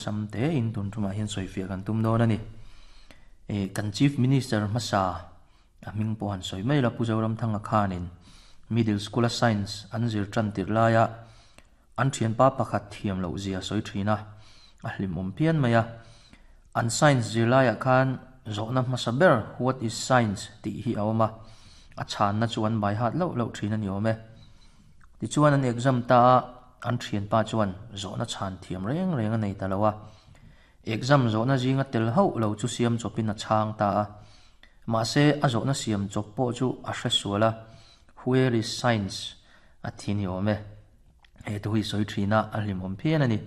Sam te in tun tumah hian sawifiah kan tum dawn a ni. Eh, kan Chief Minister hmasa a hming pawh han sawi mai la Pu Zoramthanga khanin Middle School a Science an zir tan tirh laia an thianpa pakhat thiam loh zia sawi thin a, a hlimawm phian mai a. An Science zir laiah khan zawhna hmasa ber What is Science? tih hi a awm a, a chhanna chu an bai hat loh loh thin a ni awm e. Tichuan an exam ta a, an thianpa chuan zawhna chhan thiam reng reng a nei ta lo a. Exam zawhna zinga tel hauh lo chu siam chawpin a chhang ta a. Mahse a zawhna siam chawp pawh chu a hre sual a, Where is science? a thi ni awm e. He thu hi sawi thin a, a hlimawm phian a ni.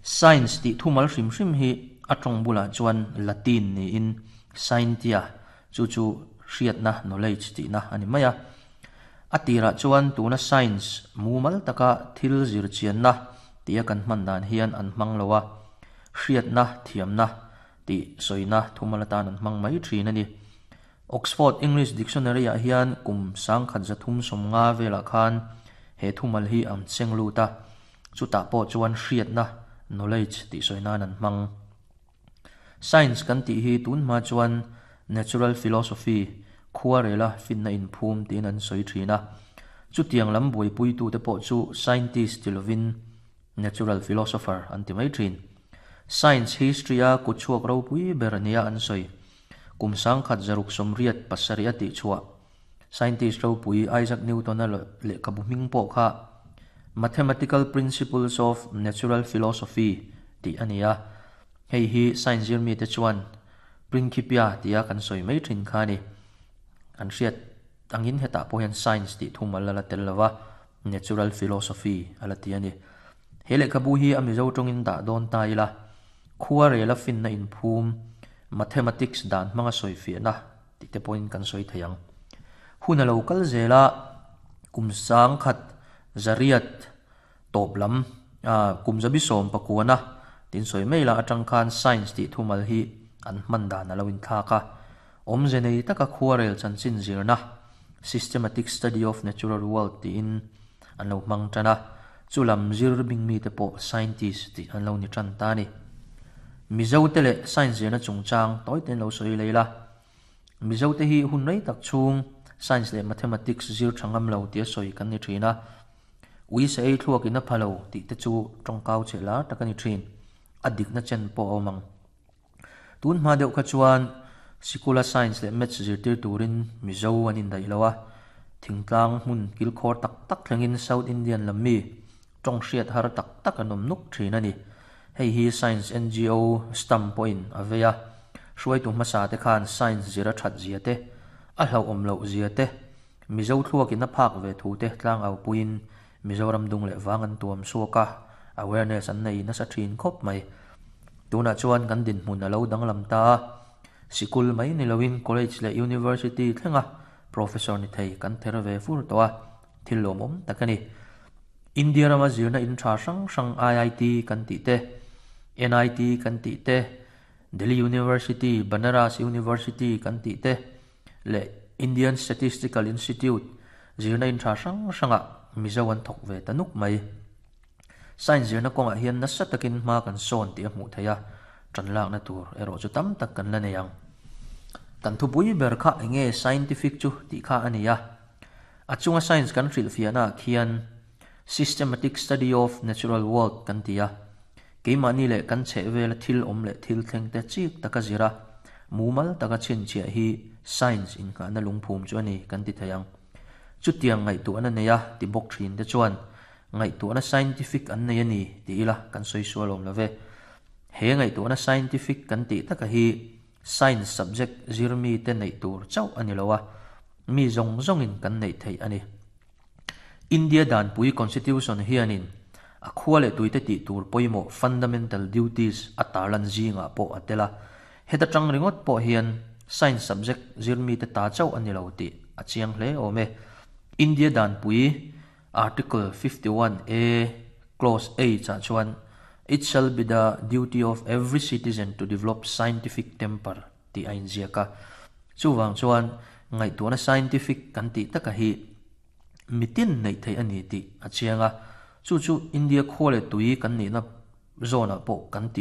Science tih thumal hrim hrim hi a tawng bulah chuan Latin niin scientia chu chu hriatna, knowledge, tihna a ni mai a. A tirah chuan tuna science mumal taka thil zir chianna tia kan hman dan hian an hmang lo a, hriatna, thiamna tih sawina thumal atan an hmang mai thin a ni. Oxford English Dictionary-ah hian kum 1350 velah khan he thumal hi an seng lut a, chutah pawh chuan hriatna, knowledge, tih sawi nan an hmang. Science kan tih hi tun hma chuan natural philosophy, khuarela finna inphum tiin an sawi thin a. Chutiang lam buaipuitute pawh chu scientist ti lovin natural philosopher an ti mai thin. Science history-a kutchhuak ropui ber nia an sawi. Kum 1987 a tihchhuah scientist ropui Isaac Newton-a lehkhabu hming pawh kha Mathematical Principles of Natural Philosophy tih a ni a, hei hi science zirmite chuan Principia tia kan sawi mai thin kha a ni. Kan hriat angin hetah pawh hian science tih thumal a la tel lo va, natural philosophy a la ti a ni. He lehkhabu hi a Mizo tawngin dah dawn ta ila, khua rela finna inphum, mathematics dan hmanga sawifiahna, tih te pawhin kan sawi thei ang. Hun a lo kal zel a, kum sangkhat zariat tawp lam, kum zabi sawm pakuana tin sawi mai la atang khan science tih thumal hi an hman dan a lo inthlak a. Awmze nei taka khuarel chanchin zirna, systematic study of natural world tiin an lo hmang tan a, chu lam zir bing mite pawh scientist tih an lo ni tan ta a ni. Mizote leh science zirna chungchang tawi ten lo sawi lei la. Mizote hi hun rei tak chhung science leh mathematics zir tha ngam lo tia sawi kan ni thin a. Ui sa ei thluak in a pha lo tih te chu tawngkau cheh lar tak a ni thin. A dikna chen pawh a awm ang. Tun hma deuh kha chuan sikula science leh maths zirtir turin Mizo an indaih lo a, thingtlang hmun kilkhawr tak tak thlengin South Indian lam mi tawng hriat har tak tak an awm nuk thin a ni. Hei hi Science NGO stamp pawhin a vei a, hruaitu hmasa te khan science zir a that zia te, a hlauhawm loh zia te, Mizo thluakin a phak ve thu te tlangau puiin Mizoram dung leh vang an tuam suak a, awareness an nei nasa thin khawp mai. Tunah chuan kan dinhmun a lo danglam ta a, sikul mai ni loin college leh university thlenga professor ni thei kan ther ve fur tawh a, thil lawmawm tak a ni. India rama zirna in tha hrang hrang IIT kan tih te, NIT kan tih te, Delhi University, Banaras University kan tih te, leh Indian Statistical Institute zirna in tha hrang hrangah Mizo an thawk ve ta nuk mai. Science zirna kawngah hian nasa takin hma kan sawn tih a hmuh theih a, tan lakna tur erawh chu tam tak kan la nei ang. Kan thupui ber kha enge scientific chu tih kha a ni a. A chunga science kan hrilhfiahnaah khian systematic study of natural world kan ti a. Keimahni leh kan chhehvela thil awm leh thil thlengte chik taka zir a, mumal taka chhinchhiah hi science innghahna lungphum chu a ni kan ti thei ang. Chutiang ngaihtuahna neia ti bawk thinte chuan ngaihtuahna scientific an nei a ni ti ila kan sawi sual awm lo ve. He ngaihtuahna scientific kan tih taka hi science subject zir mite neih tur chauh a ni lo a, mi zawng zawngin kan neih theih a ni. India danpui Constitution hianin a khua leh tuite tih tur pawimawh fundamental duties a tarlan zingah pawh a tel a. Heta tang ringawt pawh hian science subject zirmite ta chauh a ni lo tih a chiang hle awm e. India danpui Article 51 A Clause H ah chuan It shall be the duty of every citizen to develop scientific temper tih a inziak a. Chuvang chuan ngaihtuahna scientific kan tih taka hi mitin neih theih a ni tih a chiang a. Chu chu India khua leh tui kan nihna zawnah pawh kan tih